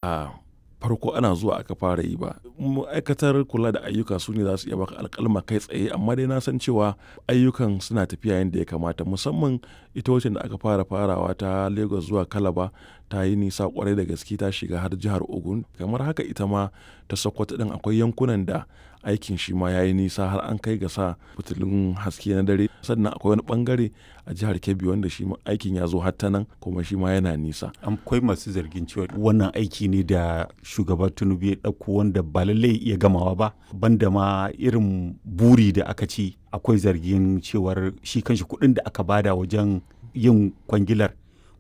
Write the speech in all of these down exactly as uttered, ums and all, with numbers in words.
A farko ana zuwa aka fara yi ba. Ma'aikatar kula da ayyuka su ne za su iya baka alƙaluma kai tsaye, amma dai na san cewa ayyukan suna tafiya yanda ya kamata. Musamman ita waccan da aka fara farawa ta Lagos zuwa Calabar ta yi nisa ƙwarai da gaske, ta shiga har jihar Ogun. Kamar haka ita ma ta Sokoto ɗin akwai yankunan da aikin shi ma ya yi nisa har an kai ga sa fitilun haske na dare. Sannan akwai wani ɓangare a jihar Kebbi wanda shi ma aikin ya zo har ta nan kuma shi ma yana nisa. Akwai masu zargin cewa wannan aiki ne da shugaba Tinubu ya ɗauko wanda ba lallai ya iya gamawa ba, banda ma irin buri da aka ci. Akwai zargin cewar shi kanshi kuɗin da aka bada wajen yin kwangilar,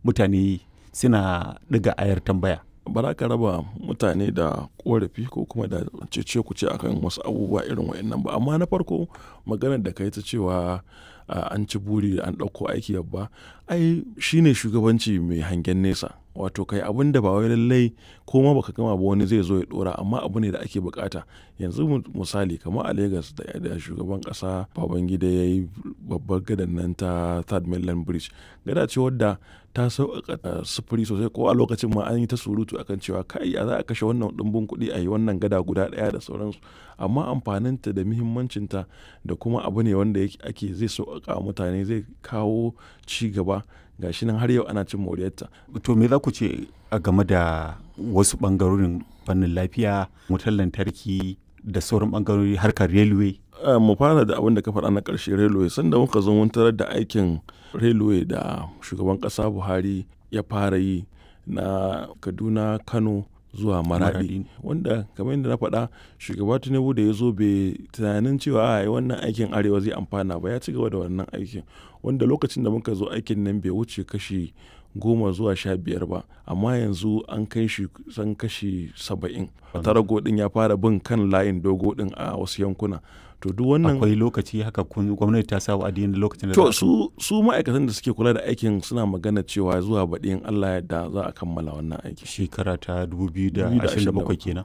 mutane suna ɗiga ayar tambaya. Ba za ka raba mutane da ƙorafi ko kuma da cece-kuce a kan wasu abubuwa irin waɗannan ba. Amma na farko, maganar da ka yi ta cewa an ci buri an ɗauko aiki babba, ai shine shugabanci mai hangen nesa. Wato kai abun da ba wai lallai ko ma ba ka gama ba wani zai zo ya ɗora, amma abu ne da ake bukata. Yanzu misali kamar a Lagos da shugaban ƙasa Babangida ya yi babbar gadan nan ta Third Mainland Bridge. Gada ce wadda ta sauƙaƙa sufuri sosai, ko a lokacin ma an yi ta surutu a kan cewa kai ya za a kashe wannan ɗumbin kuɗi a yi wannan gada guda ɗaya da sauransu. Amma amfaninta da muhimmancinta da kuma abu ne wanda ake zai sauƙaƙa wa mutane, zai kawo ci gaba. Ga shi nan har yau ana cin moriyarta. To, me za ku ce a game da wasu ɓangarorin fannin lafiya, wutar lantarki da sauran ɓangarori, harkar railway? Mu fara da abin da ka faɗa na ƙarshe, railway. Sanda muka zo mun tarar da aikin railway da shugaban ƙasa Buhari ya fara yi na Kaduna, Kano zuwa Maradi. Wanda kamar yadda na faɗa, shugaba Tinubu da ya zo bai tunanin cewa ai wannan aikin Arewa zai amfana ba, ya ci gaba da wannan aikin. Wanda lokacin da muka zo, aikin nan bai wuce kashi goma zuwa sha biyar ba, amma yanzu an kai shi kusan kashi saba'in. Tarago ɗin ya fara bin kan layin dogo ɗin a wasu yankuna. To, duk wannan Akwai lokaci haka kun gwamnati ta sa wa'adi na lokacin da To, su su ma'aikatan da suke kula da aikin suna magana cewa zuwa baɗi in Allah ya yarda za a kammala wannan aiki. Shekara ta dubu biyu da ashirin da bakwai kenan.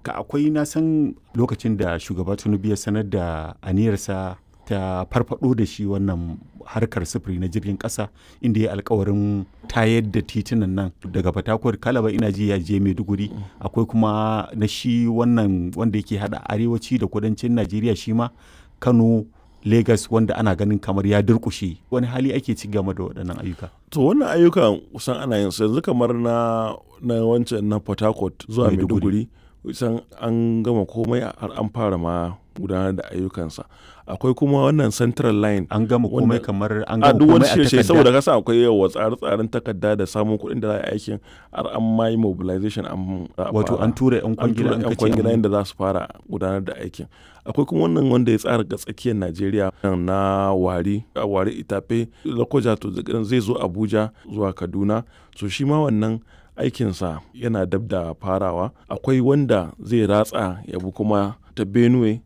Ka akwai, na san lokacin da shugaba Tinubu ya sanar da aniyarsa ta farfado da shi wannan harkar sufuri na jirgin ƙasa, inda ya alkawarin tayar da titunan nan daga Fatakwal, Kalaba, ina ji ya je Maiduguri. Akwai kuma na shi wannan wanda yake hada arewaci da kudancin Najeriya, shi ma Kano Lagos, wanda ana ganin kamar ya durƙushe. Wani hali ake ci game da waɗannan ayyuka? To, wannan ayyukan kusan ana yin su yanzu, kamar na na wancan na Port Harcourt zuwa Maiduguri, kusan an gama komai, har an fara ma gudanar da ayyukansa. Akwai kuma wannan Central Line. An gama komai kamar an gama duk wani komai a shirye, takarda? Saboda kasa akwai yawa tsare-tsaren takarda da samun kuɗin da za a yi aikin, har an ma yi mobilization, an Wato an tura 'yan an kwangila, tura an 'yan kace kwangila an yadda za su fara gudanar da aikin. Akwai kuma wannan wanda ya tsara ga tsakiyar Najeriya na Warri, Warri Itafe, Lokoja, to zai zo Abuja zuwa Kaduna. So shi ma wannan aikinsa yana dab da farawa. Akwai wanda zai ratsa ya bi kuma ta Benue,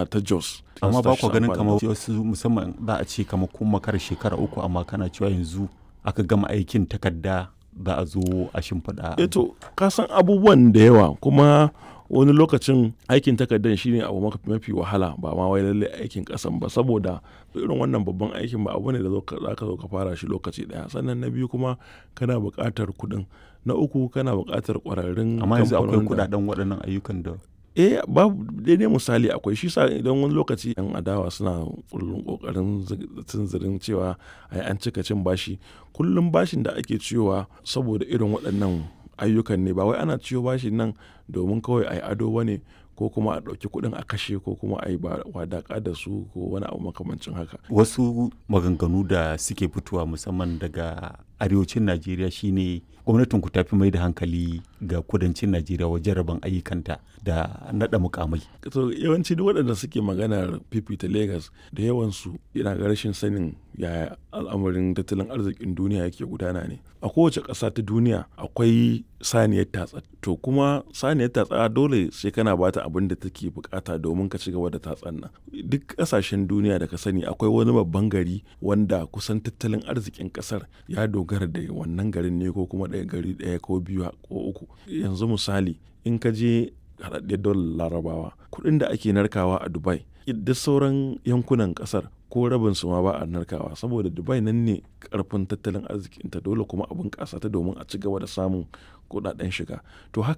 ta Jos. Amma ba ku ganin kamar wasu, musamman za a ce kamar kun makara shekara uku, amma kana cewa yanzu aka gama aikin takarda, za a zo a shimfiɗa? Eh, to ka san abubuwan da yawa, kuma wani lokacin aikin takardar shine abu mafi wahala, ba ma wai lallai aikin ƙasan ba, saboda irin wannan babban aikin ba abu ne da za ka zo ka fara shi lokaci ɗaya. Sannan na biyu kuma, kana buƙatar kuɗin. Na uku, kana buƙatar ƙwararrun Amma yanzu akwai kamfanonin da kuɗaɗen waɗannan ayyukan da Eh, babu daidai misali akwai shi sa idan wani lokaci 'yan adawa suna kullum ƙoƙarin tunzirin cewa ai an cika cin bashi. Kullum bashin da ake ciyowa saboda irin waɗannan ayyukan ne, ba wai ana ciyo bashin nan domin kawai a yi ado ba ne, ko kuma a ɗauki kuɗin a kashe, ko kuma a yi wadaƙa da su, ko wani abu makamancin haka. Wasu maganganu da suke fitowa musamman daga arewacin Najeriya shine gwamnatin ku tafi mai da hankali ga kudancin Najeriya wajen rabon ayyukanta da naɗa mukamai. To, yawanci duk waɗanda suke maganar fifita Lagos, da yawansu yana ga rashin sanin yaya al'amarin tattalin arzikin duniya yake gudana ne. A kowace ƙasa ta duniya akwai saniyar tatsa. To, kuma saniyar tatsa dole sai kana bata abin da take bukata domin ka ci gaba da tatsan nan. Duk ƙasashen duniya da ka sani akwai wani babban gari wanda kusan tattalin arzikin ƙasar ya dogara da wannan garin ne, ko kuma ɗaya gari ɗaya ko biyu ko uku. Yanzu misali, in ka je Haɗaɗɗiyar Daular Larabawa, kuɗin da ake narkawa a Dubai, duk sauran yankunan ƙasar Ko rabin su ma ba a narkawa saboda Dubai nan ne karfin tattalin arzikinta, dole kuma a bunƙasa ta domin a ci gaba da samun kuɗaɗen shiga. To haka.